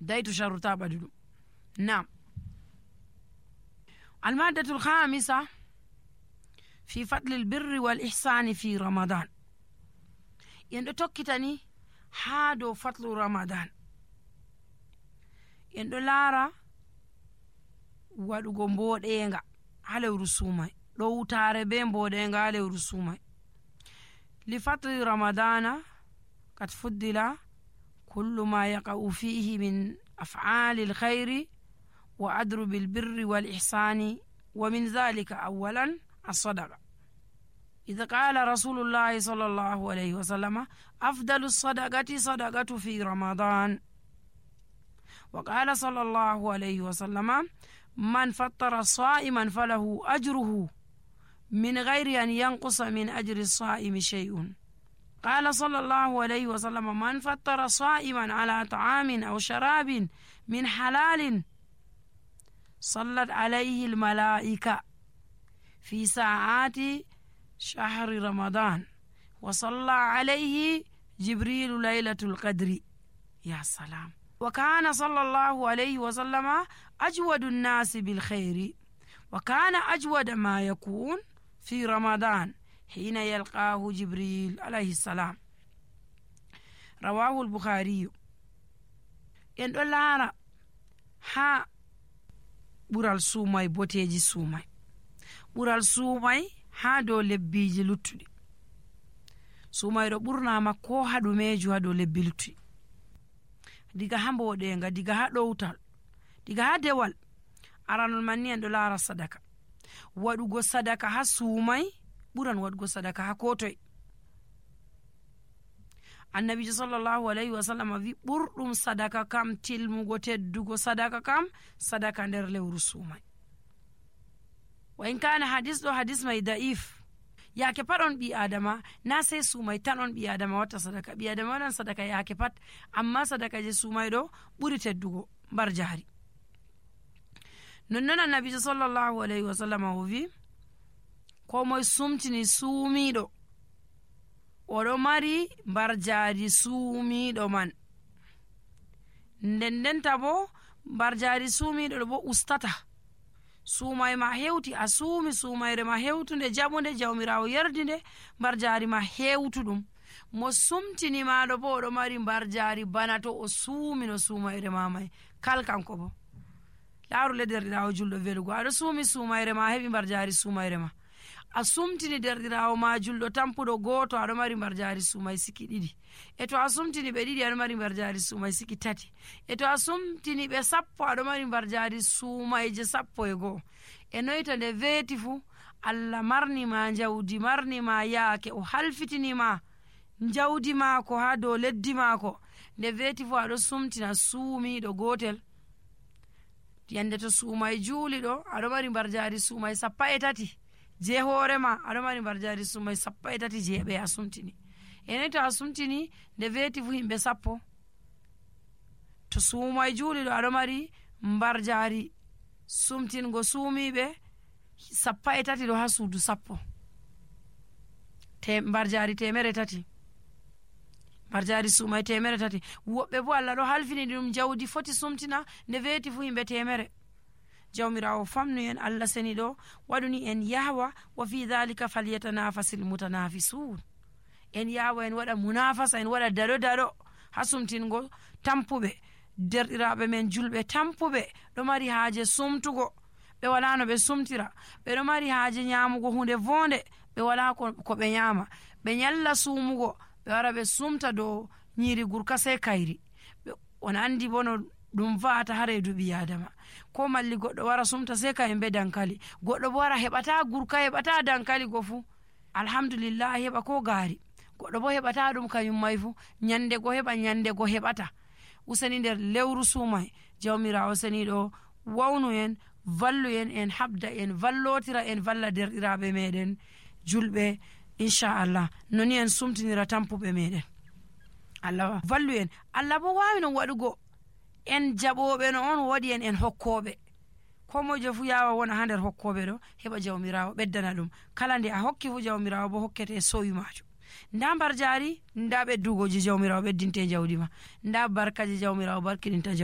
daytu sharruta ɓadi ɗum. Nam almaddatul khamisa fi fadli lbirri wal ihsani fi ramadan. en ɗo tokkitani haa dow fatlu ramadan. en ɗo laara waɗugo mboɗenga ha lewru sumay, ɗowtare be mboɗenga ha lewru sumay. li fatli ramadana kad fuddila kullu ma yaqa'u fihi min af'ali lkhayri wa adrubi lbirri wal ihsani wa min dhalika awalan as-sadaqa. إذا قال رسول الله صلى الله عليه وسلم أفضل الصدقة صدقة في رمضان. وقال صلى الله عليه وسلم من فطر صائما فله أجره من غير أن ينقص من أجر الصائم شيء. قال صلى الله عليه وسلم من فطر صائما على طعام أو شراب من حلال صلت عليه الملائكة في ساعات شهر رمضان وصلى عليه جبريل ليلة القدر. يا سلام. وكان صلى الله عليه وسلم أجود الناس بالخير، وكان أجود ما يكون في رمضان حين يلقاه جبريل عليه السلام. رواه البخاري. en ɗo laara ha ɓural suumay boteji suumay. ɓural suumay ha dow lebbiji luttuɗi. suumayɗo ɓurnama ko ha ɗumeju ha dow lebbi luttuɗi, diga ha mboɗenga, diga ha ɗowtal, diga ha dewal. aranol man ni en ɗo laara sadaka. waɗugo sadaka ha suumay ɓuran waɗugo sadaka ha kotoy. annabijo sallallahu alayhi wa sallam wi ɓurɗum sadaka kam, tilmugo teddugo sadaka kam, sadaka nder lewru suumay. wa in kana hadis ɗo hadis may da'if. yake pat on ɓi adama, na sey suumay tan on ɓi adama watta sadaka. ɓi adama waɗan sadaka yake pat, amma sadaka je suumay ɗo ɓuri teddugo mbar jari. nonnon annabijo sallallahu alayhi wa sallam o wi ko moye sumtini suumiɗo oɗo mari mbar jari suumiɗo man. ndendenta bo mbar jari suumiɗo ɗo bo ustata. suumay ma hewti, a suumi suumayre ma hewtunde jaɓude, jawmirawo yerdinde, mbar jari ma hewtuɗum. mo sumtini maɗo bo oɗo mari mbar jari bana to o suumino suumayre ma may. kal kanko bo laaru le derɗirawo julɗo velugo, aɗo suumi suumayre ma heɓi mbar jari suumayre ma. a sumtini derɗirawo ma julɗo tampuɗo goto, aɗo mari mbar jari suumay siki ɗiɗi. e to a sumtini ɓe ɗiɗi, aɗo mari mbar jari suumay siki tati. e to a sumtini ɓe sappo, aɗo mari mbar jari suumayje 11. e noyto nde weeti fu allah marnima jawdi, marnima yaake, o halfitinima jawdi maako ha dow leddi maako. nde weeti fu aɗo sumtina suumiɗo gotel. yande to suumay juuli ɗo, aɗo mari mbar jari suumay 13 je hoorema, aɗo mari mbar jari suumay 13 je ɓe a sumtini. enen to a sumtini nde weeti fu himɓe 10. to suumay juuli ɗo aɗo mari mbar jari sumtingo suumiɓe 13 ɗo ha suudu 10. mbar jari 300. mbar jari suumay 300. woɓɓe bo allah ɗo halfini ɗum jawdi foti sumtina nde weeti fu himɓe 100. jawmirawo famnu en, allah seni ɗo waɗuni en yahwa wa fi dhalika falyatanafasil mutanafisun. en yahwa en waɗa munafasa, en waɗa daɗo ha sumtingo tampuɓe derɗiraɓe men julɓe tampuɓe ɗo mari haaje sumtugo, ɓe wala no ɓe sumtira, ɓe ɗo mari haaje nyamugo hunde vonde, ɓe wala ko ɓe nyama, ɓe nyalla sumugo, ɓe wara ɓe sumta dow nyiri gurka sey kayri. on andi bo no ɗum va'ata ha reedu ɓi adama. ko malli goɗɗo wara sumta sey kayen be dankali, goɗɗo bo wara heɓata gurka, heɓata dankali go fu alhamdulillah heɓa ko gaari. goɗɗo bo heɓata ɗum kanyum may fu nyande go heɓa, nyande go heɓata. useni nder lewru suumay jawmirawo seniɗo wawnu en, vallu en habda en vallotira en valla derɗiraɓe meɗen julɓe inchallah. noni en sumtinira tampuɓe meɗen. allah vallu en. allah bo wawi non waɗugo en jaɓoɓe no on waɗi en hokkoɓe. ko mojo fu yawa wona ha nder hokkoɓe ɗo, heɓa jawmirawo ɓeddana ɗum. kala nde a hokki fu jawmirawo bo hokkete sowi majum. nda mbar jari, nda ɓeddugoji jawmirawo ɓeddinte jawdi ma, nda barkaji jawmirawo barkiɗinta jawdi.